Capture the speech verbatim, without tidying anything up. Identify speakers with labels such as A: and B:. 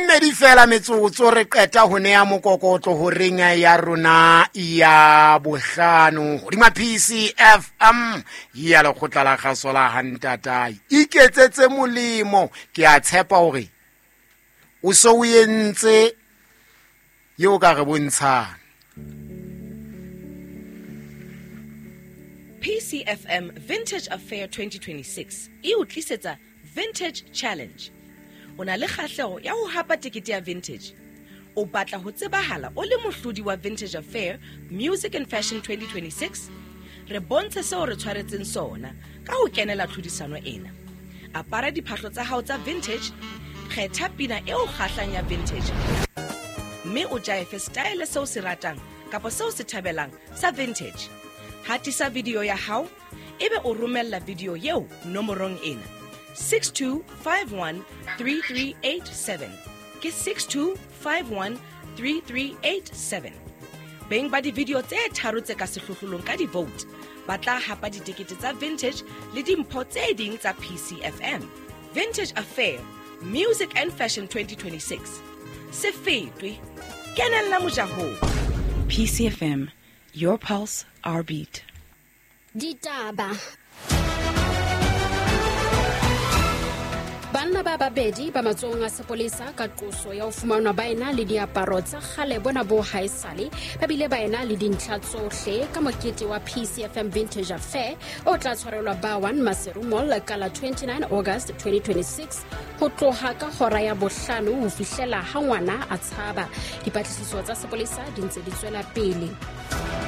A: mmedi fela metsotso re qeta ho neya mokokotlo horeng ya rona ya bohlano hodima P C F M ya lekgotla la kgaso la Hantatai. Iketsetse molemo, ke a tshepa hore o so o entse eo ka re bontshang.
B: P C F M Vintage Affair twenty twenty-six e o tlisetsa Vintage Challenge. O na le kgahleho ya ho hapa tekete ya vintage. O batla ho tsebahala o le mohlodi wa Vintage Affair Music and Fashion twenty twenty-six? Re bontshe seo re tshwaretseng sona ka ho kenela tlhodisano ena. Apara diphahlo tsa hao tsa vintage, kgetha pina eo kgahlang ya vintage, mme o jaefe style seo se ratang kapa seo se thabelang sa vintage. Hatisa video ya hao ebe o romella video eo nomorong ena six two five one three three eight seven. Ke six two five one three three eight seven. Beng ba di-video tse tharo tse ka sehlohlolong ka di-vote ba tla hapa ditekete tsa vintage le dimpho tse ding tsa P C F M. Vintage Affair Music and Fashion twenty twenty-six. Se fetwe, kenella mojahong.
C: P C F M, your pulse, our beat.
D: Ditaba. Banna ba babedi ba matsohong a sepolesa ka qoso ya ho fumanwa ba ena le diaparo tsa kgale bona bo haesale, ba bile ba ena le dintlha tsohle ka mokete wa P C F M Vintage Affair o tla tshwarelwa ba one Maseru Mall ka la twenty-nine August twenty twenty-six ho tloha ka hora ya bohlano ho fihlela ha ngwana a tshaba. Dipatlisiso tsa sepolesa di ntse di tswela pele.